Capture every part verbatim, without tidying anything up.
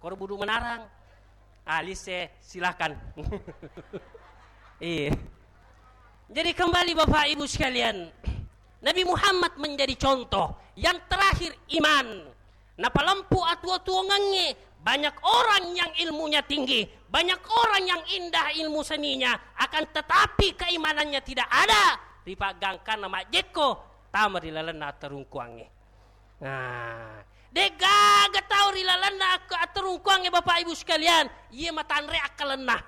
Koro budu menarang. Ah, lise, silakan. Iya. Jadi kembali Bapak Ibu sekalian, Nabi Muhammad menjadi contoh yang terakhir iman. Napalempu atuo-tuongengnge, banyak orang yang ilmunya tinggi, banyak orang yang indah ilmu seninya, akan tetapi keimanannya tidak ada, ripaggangkanna majjekko tama ri lalenna atterungkuangnge. Nah, de'gaga tau ri lalenna ak-, atterungkuangnge, Bapak Ibu sekalian, iye matanre akkalenna.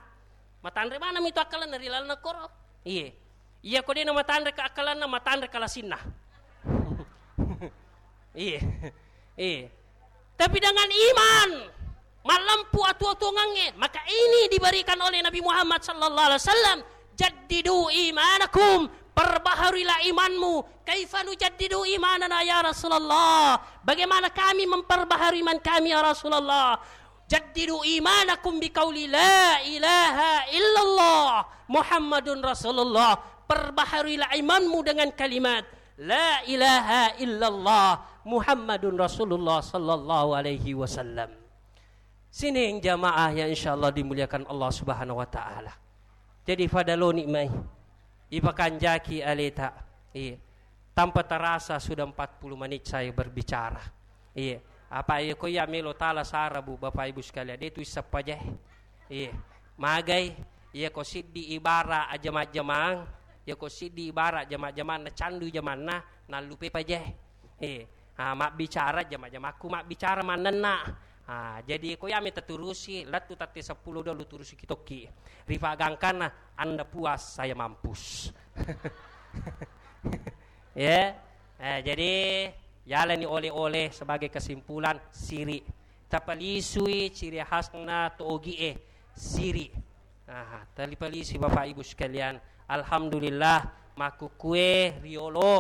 Matanre maneng mitu akkalenna ri lalenna koro? Iye. Iya ko de'na matanre ka akkalenna, matanre ka lasinna. Iye. Iye. Tapi dengan iman, mallempu atuo-tuongengnge, maka ini diberikan oleh Nabi Muhammad sallallahu alaihi wasallam, "Jaddidu imanakum, perbaharuilah imanmu." "Kaifa nujaddidu imanana ya Rasulullah?" Bagaimana kami memperbaharui iman kami ya Rasulullah? "Jaddidu imanakum biqauli la ilaha illallah Muhammadun Rasulullah." Perbaharuilah imanmu dengan kalimat la ilaha illallah Muhammadun Rasulullah sallallahu alaihi wasallam. Sining jamaah yang insyaallah dimuliakan Allah Subhanahu wa taala. Jadi pada loni mai ipakanjaki aleta. Iya. Tanpa terasa sudah empat puluh menit saya berbicara. Iya. Apa iya ko iya melo tala sara, Bu, Bapak Ibu sekalian, de tu issappa je. Iya. Magai, iya ko siddi ibara ajama-jamang, iya ko siddi ibara jama-jamang na candu jamanna, nallupe pa je. Eh, ah, mabbicara jama-jamakku mabbicara mannenna. Ah, jadi ko yami taturusi, lettu tette seppulo dua lu turusi kitokki. Rifagangkanna, Anda puas, saya mampus. Ya. Eh, jadi yalani oleh-oleh sebagai kesimpulan, siri. Tapalisui ciri khasna togi e, siri. Nah, talipalisi Bapak Ibu sekalian. Alhamdulillah, makkukue riolo